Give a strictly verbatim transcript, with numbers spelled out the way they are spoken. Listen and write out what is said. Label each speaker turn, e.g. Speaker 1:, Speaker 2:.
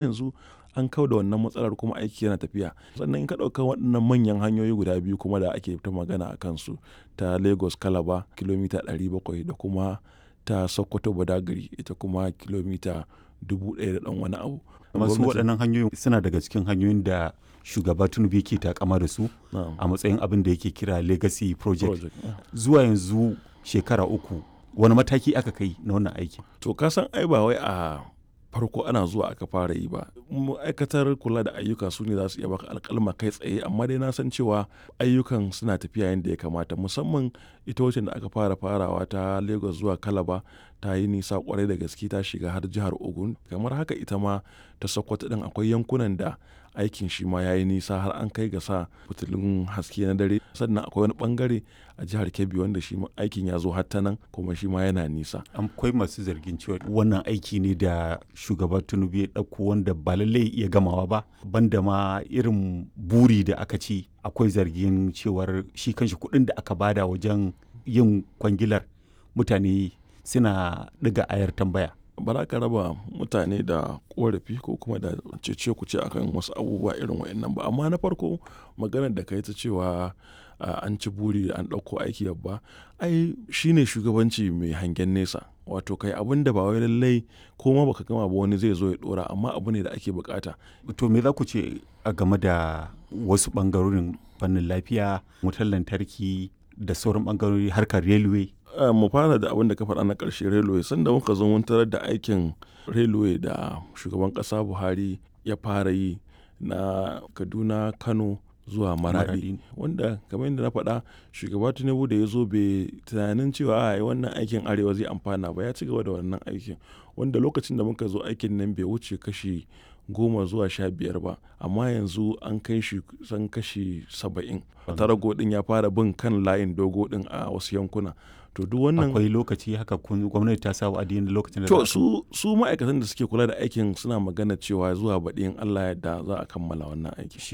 Speaker 1: Yanzu an kau da wannan matsalar kuma aiki yana tafiya. Sannan in ka ɗauka waɗannan manyan hanyoyi guda biyu kuma da ake ta magana a kansu ta Lagos Calabar kilomita ɗari bakwai da kuma ta Sokoto Badagry ita kuma kilomita dubu ɗaya da ɗan wani abu.
Speaker 2: Masu waɗannan hanyoyin suna daga cikin hanyoyin da shugaba Tinubu yake takama da su a matsayin abin da yake kira legacy project.
Speaker 1: Project, yeah.
Speaker 2: Zuwa yanzu shekara uku wani mataki aka kai na wannan aikin?
Speaker 1: To ka san ai ba wai a farko ana zuwa aka fara yi ba. Ma'aikatar kula da ayyuka su ne za su iya baka alƙalma kai tsaye, amma dai na san cewa ayyukan suna tafiya yadda ya kamata, musamman ita wacce da aka fara farawa ta Lagos zuwa Calabar ta yi nisa kwarai da gaske, ta shiga har jihar Ogun. Kamar haka ita ma ta Sokoto ɗin akwai yankunan da aikin shi ma ya yi nisa har an kai ga sa fitilun haske na dare. Sannan akwai wani bangare a jihar Kebbi wanda shi ma aikin ya zo har ta nan kuma shi ma yana nisa.
Speaker 2: Akwai masu zargin cewa wannan aiki ne da shugaba Tinubu ya ɗauko wanda ba lallai ya iya gamawa ba, banda ma irin buri da aka ci. Akwai zargin cewar shi kanshi kuɗin da aka bada wajen yin kwangilar mutane suna ɗiga ayar tambaya.
Speaker 1: Ba za ka raba mutane da ƙorafi ko kuma da cece-kuce akan wasu abubuwa irin waɗannan ba. Amma na farko, maganar da ka yi ta cewa an ci buri an ɗauko aiki babba, ai shi ne shugabanci mai hangen nesa. Wato kai abun da ba wai lallai ko ma baka gama ba wani zai zo ya ɗora, amma abu ne da ake bukata.
Speaker 2: To me za ku ce a game da wasu ɓangarorin fannin lafiya, wutar lantarki da sauran ɓangarori, harkar railway?
Speaker 1: Mu fara da abin da ka faɗa na ƙarshe, railway. Sanda muka zo mun tarar da aikin railway da shugaban ƙasa Buhari ya fara yi na Kaduna Kano zuwa Maradi, wanda kamar yadda na faɗa, shugaba Tinubu da ya zo bai tunanin cewa ai wannan aikin Arewa zai amfana ba, ya ci gaba da wannan aikin wanda lokacin da muka zo aikin nan bai wuce kashi goma zuwa sha biyar ba, amma yanzu an kai shi kusan kashi saba'in. Tarago ɗin ya fara bin kan layin dogo ɗin a wasu yankuna. To duk wannan
Speaker 2: Akwai lokaci haka kun gwamnati ta sa wa'adi na lokacin da
Speaker 1: To su su ma'aikatan da suke kula da aikin suna magana cewa zuwa baɗi in Allah ya yarda za a kammala wannan aiki.
Speaker 2: Shi